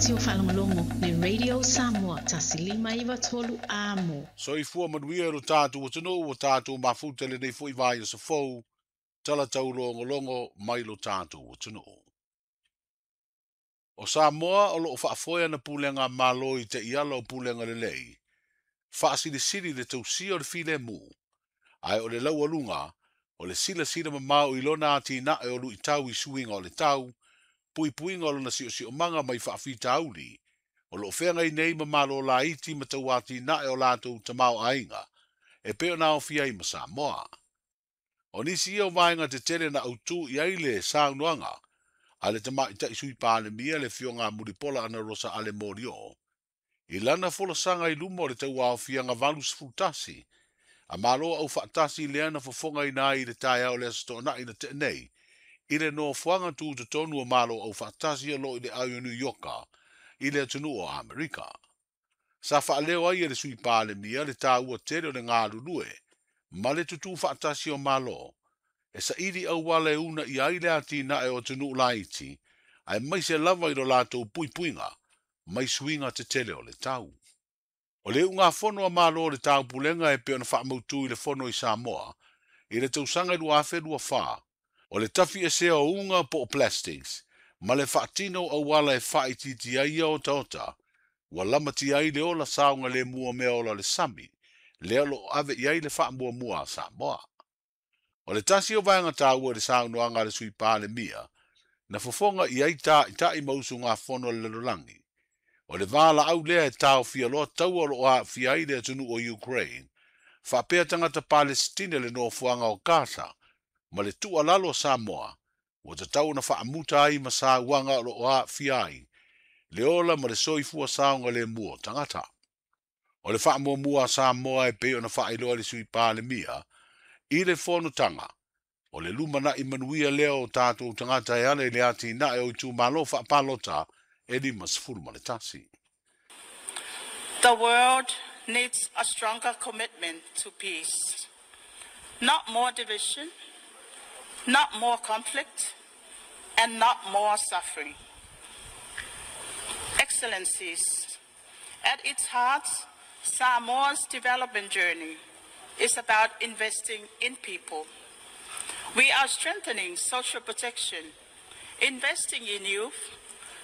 leitio faalogologo le Radio Samoa 1593 Amo. Soifua manuia e lo tātou atunuu ua tātou mafuta lenei foi vaiaso fou, tala taulogologo mai lo tātou atunuu. O Samoa o loo faafoe ana pulega a Malo i taiala o pulega lelei, faasilisili le tausia o le filemu, ae o le laualuga o le silasila mamao i lona atinae o luitau i suiga o le tau, puipuiga o lona siosiomaga mai faafitauli, o loo feagai nei ma malo laiti ma tauatinae o latou tamaoaiga, e pei ona aofia ai ma Samoa. O nisi ia o vaega tetele na autū i ai le saunoaga a le tamaitai Sui Palemia le Afioga a Mulipola Anarosa Ale Molioo, i lana folasaga i luma o le tauaofiaga 81 a Malo Aufaatasi lea na fofogaina ai i le taeao o le Aso Toonai na tea nei, i le nofoaga tutotonu o Malo Aufaatasi o loo i le au o New Yorka i le atunuu o Amerika. Sa faaleo ai e le Sui Palemia le taua tele o le galulue ma le tutū faatasi o Malo, e saili auala e uunaia ai le atinae o atunuu laiti, aemaise lava i lo latou puipuiga mai suiga tetele o le tau. O le iugafono a Malo o le Taupulega e pei ona faamautu i le Fono i Samoa i le tausaga 2024, o le tafiesea o uga po o plastics ma le faatino o auala e faaitiitia ai ia otaota, ua lamatia ai le ola saogalemu o meaola o le sami, lea o lo o ave i ai le faamuamua a Samoa. O le tasi o vaega taua i le saunoaga a le Sui Palemia, na fofoga i ai taitai ma usugafono a le lalolagi, o le valaau lea e taofia loa taua o lo o aafia ai le atunuu o Ukraine, faapea tagata Palesitine i le nofoaga o Gaza, ma le tuualalo a Samoa, ua tatau ona faamuta ai ma sauaga o lo o aafia ai le ola ma le soifua saogalemu o tagata. O le faamuamua a Samoa e pei ona faailoa e le Sui Palemia i le fonotaga, o le lumanai manuia lea o tatou tagata e ala i le atinae o itumalo faapalota e 51. The world needs a stronger commitment to peace. Not more division, not more conflict, and not more suffering. Excellencies, at its heart, Samoa's development journey is about investing in people. We are strengthening social protection, investing in youth,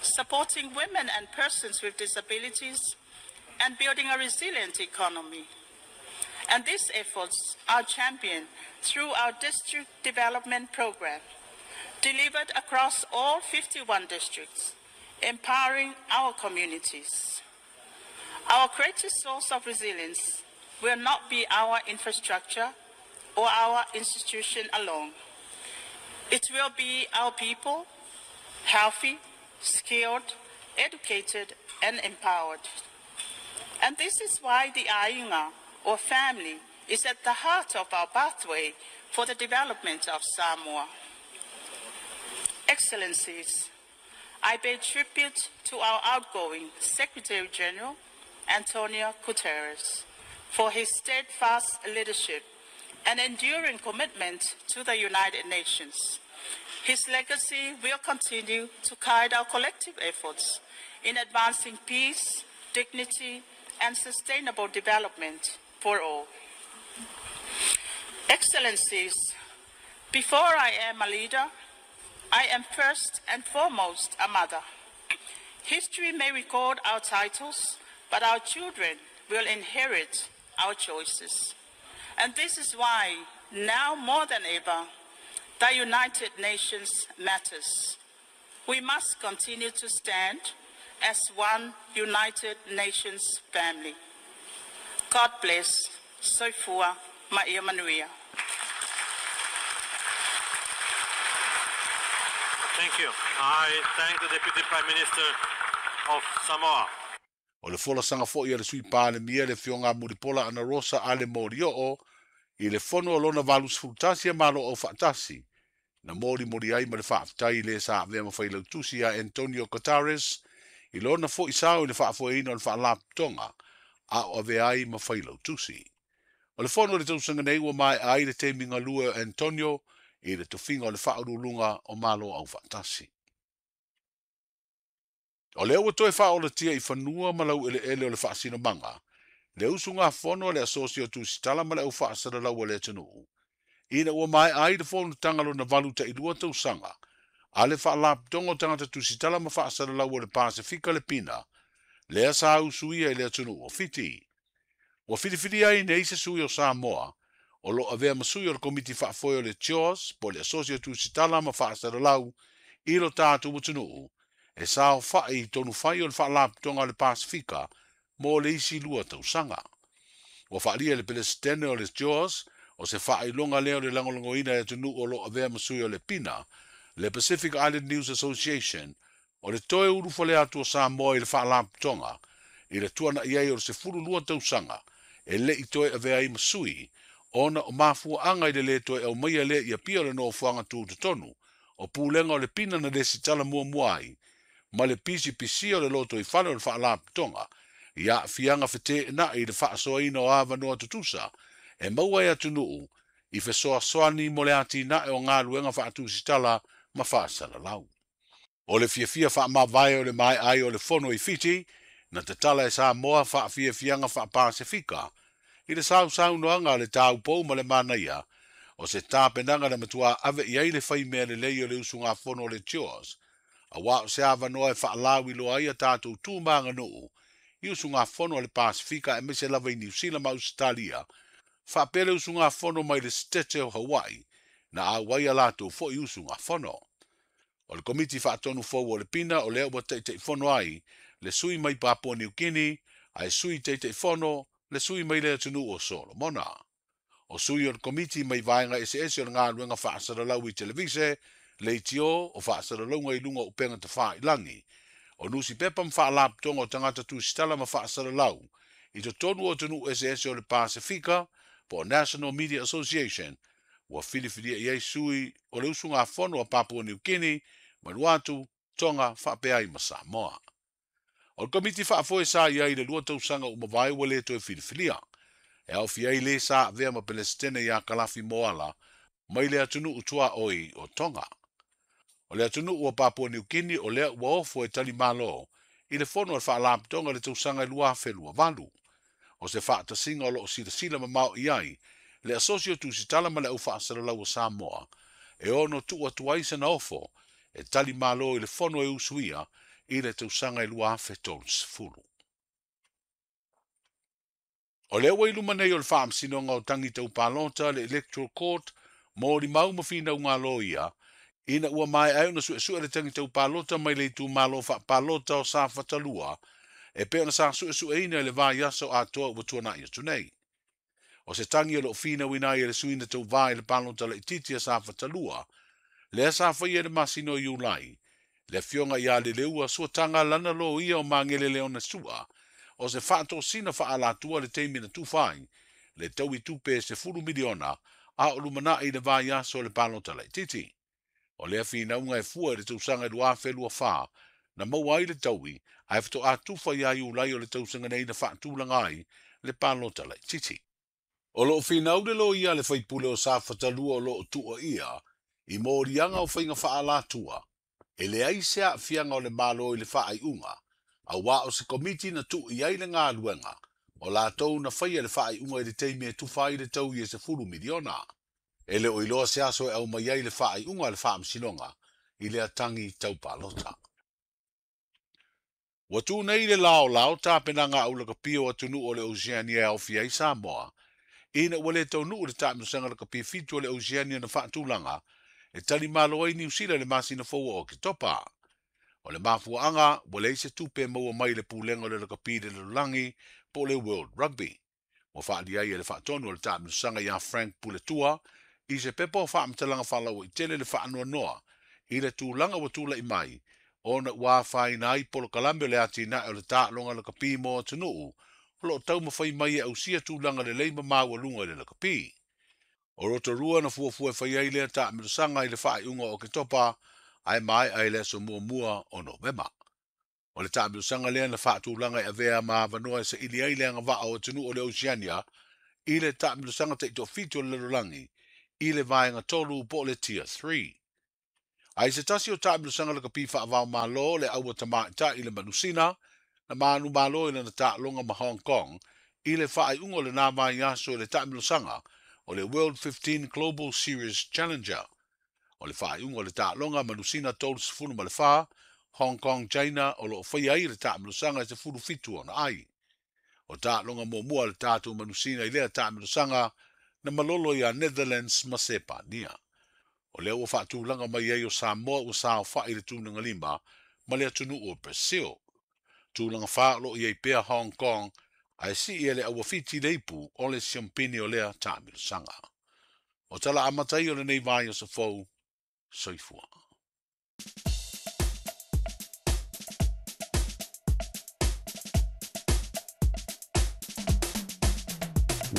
supporting women and persons with disabilities, and building a resilient economy. And these efforts are championed through our district development program, delivered across all 51 districts, empowering our communities. Our greatest source of resilience will not be our infrastructure or our institution alone. It will be our people, healthy, skilled, educated, and empowered. And this is why the Aiga, or family, is at the heart of our pathway for the development of Samoa. Excellencies, I pay tribute to our outgoing Secretary General, Antonio Guterres, for his steadfast leadership and enduring commitment to the United Nations. His legacy will continue to guide our collective efforts in advancing peace, dignity, and sustainable development for all. Excellencies, before I am a leader, I am first and foremost a mother. History may record our titles, but our children will inherit our choices. And this is why, now more than ever, the United Nations matters. We must continue to stand as one United Nations family. God bless. Soifua ma ia manuia. Thank you. I thank the Deputy Prime Minister of Samoa. O le folasaga foi a le Sui Palemia le Afioga a Mulipola Anarosa Ale Molioo i le fono o lona 81 a Malo Aufaatasi, na molimoli ai ma le faafetai i le sa avea ma Failautusi ia Antonio Guterres i lona foi sao i le faafoeina o le Faalapotopotoga a o avea ai ma Failautusi. O le fono i le tausaga nei ua maea ai le taimi galue o Antonio i le tofiga o le Faauluuluga o Malo Aufaatasi. O lea ua toe faaolatia i fanua ma laueleele o le faasinomaga, le usugafono a le Asosi o Tusitala ma le Au Faasalalau a le atunuu, ina ua maea ai le fonotaga lona 82 tausaga a le Faalapotopotoga o Tagata Tusitala ma Faasalalau o le Pasefika le Pina, lea sa usuia i le atunuu o Fiti. Ua filifilia ai nei se sui o Samoa, o lo o avea ma sui o le Komiti Faafoe o le CHOS po o le Asosi o Tusitala ma Faasalalau i lo tatou atunuu, e saofai i tonufai o le Faalapotopotoga a le Pasefika mo le isi 2 tausaga. Ua faaalia e le Peresetene o le CHOS o se faailoga lea o le lagolagoina e atunuu o lo o avea ma sui o le PINA, le Pacific Island News Association, o le toe ulufale atu o Samoa i le Faalapotopotoga i le tuana'i ai o le 12 tausaga e le i toe avea ai ma sui, ona o mafuaaga i le lē toe aumaia lea i Apia o le nofoaga tutotonu o pulega o le PINA na lesitala muamua ai, ma le pisipisia o le lotoifale o le Faalapotopotoga i aafiaga feteenai i le faasoaina o avanoa tutusa e maua e atunuu i fesoasoani mo le atinae o galuega faatusitala ma faasalalau. O le fiafia faamavae o le maea ai o le fono i Fiti, na tatala e Samoa faafiafiaga faapasefika i le sausaunoaga a le taupou ma le manaia, o se tapenaga na matua ave i ai le faimea lelei o le usugafono o le CHOS, auā o se avanoa e faalauiloa ai a tatou tu ma aganuu i usugafono a le Pasefika aemaise lava i Niu Sila ma Ausetalia, faapea le usugafono mai le Setete o Hawaii, na auai a latou foi usugafono. O le Komiti Faatonu fou o le Pina o lea ua taitaifono ai le sui mai Papua Niu Kini, ae sui taitaifono le sui mai le atunuu o Solomona. O sui o le Komiti mai vaega eseese o le galuega faasalalau i televise, leitio o faasalalauga i luga o upega tafailagi, o nusipepa ma faalapotopotoga o tagata tusitala ma faasalalau i totonu o atunuu eseese o le Pasefika po o National Media Association, ua filifilia i ai sui o le usugafono a Papua Niu Kini, Vanuatu, Tonga faapea ai ma Samoa. O le Komiti Faafoe sa i ai i le 2 tausaga ua mavae ua lē toe filifilia, e aofia ai lē sa avea ma Peresetene ia Kalafi Moala mai le atunuu tuaoi o Tonga. O le atunuu o Papua Niu Kini o lea ua ofo e tali malo i le fono a le Faalapotopotoga i le tausaga 2028. O se faatasiga o lo o silasila mamao i ai le Asosi o Tusitala ma le Au Faasalalau o Samoa, e ono tuu atu ai sana ofo e tali malo i le fono e usuia i le tausaga 2030. O lea ua i luma nei o le Faamasinoga o Tagi Tau Palota le Electoral Court mo limau ma finauga loia, ina ua maea ai ona suesue le tagi tau palota mai le itumalo faapalota o Safata 2, e pei ona sa suesueina i le vaiaso atoa ua tuana'i atu nei. O se tagi o loo finauina ai e le sui na tauvā i le palota laitiiti a Safata 2, lea sa faia i le masina o Iulai, le afioga ia Leleua Suataga lana loia o Magele Leona Sua, o se faatosina faaalatua le taimi na tufa ai le taui tupe e $10 miliona a o lumanai i le vaiaso o le palota laitiiti. O lea finauga e fua i le tausaga 2024 na maua ai le taui, ae faatoa tufa ia Iulai o le tausaga nei na faatulaga ai le palota laitiiti. O loo finau le loia a le faipule o Safata 2 o loo tuuaia i moliaga o faiga faaalatua, e leai se aafiaga o le Malo i le faaiuga, auā o se komiti na tuu i ai le galuega, o latou na faia le faaiuga i le taimi e tufa ai le taui e $10 miliona. E le o iloa se aso e aumai ai le faaiuga a le Faamasinoga i lea tagi tau palota. Ua tu nei le laolao tapenaga aulakapi o atunuu o le Oceania e aofia ai Samoa, ina ua lē taunuu le taamilosaga lakapi 7 o le Oceania na faatulaga e tali malo ai Niu Sila i le masina fou o Oketopa. O le mafuaaga ua leai se tupe e maua mai i le pulega o le lakapi i le lalolagi po o le World Rugby. Ua faaalia ai e le faatonu o le taamilosaga ia Frank Puletua i se pepa o faamatalaga faalauaitele le faanoanoa i le tulaga ua tulai mai, ona ua afaina ai polokalame o le atinae o le taaloga lakapi mo atunuu o loo taumafai mai e ausia tulaga lelei ma maualuga i le lakapi. O Rotorua na fuafua e fai ai lea taamilosaga i le faaiuga o Oketopa, ae maea i le aso 1 o Novema. O le taamilosaga lea na faatulaga e avea ma avanoa e saili ai le agavaa o atunuu o le Oceania i le taamilosaga taitoafitu o le lalolagi i le vaega 3 po o le Tier 3. Ae se tasi o taamilosaga lakapi faavaomalo le aua tamaʻitaʻi le manusina na manumalo i lana taaloga ma Hong Kong i le faaiuga o lenā vaiaso i le taamilosaga o le World 15 Global Series Challenger. O le faaiuga o le taaloga manusina 34, Hong Kong China o loo faia ai le taamilosaga e 17 ona ai. O taaloga muamua le tatou manusina i lea taamilosaga na malolo ia Netherlands ma Sepania. O lea ua faatulaga mai ai o Samoa ua saofaʻi le tulaga lima ma le atunuu o Brazil. Tulaga fa o loo i ai pea Hong Kong ae sii e le auafiti le ipu o le siompini o lea taamilosaga. O tala amata ia o lenei vaiaso fou. Soifua.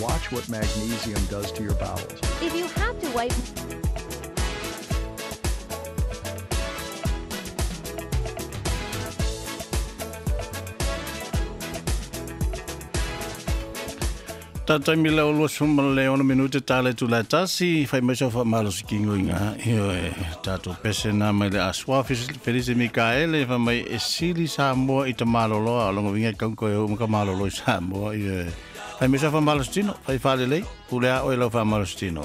Watch what magnesium does to your bowels. If you have to wipe Tatai mi lau 26 minute tale tu la tasi fai mai so fa malo sikingo inga io e tato pese na mai le aswa Felice Mikaele fa mai e sili Samoa i te malolo a longo vinga kau ko e ka malolo i Samoa io e fai mai so fa malo stino fai fale lei pule a oi lau fa malo stino.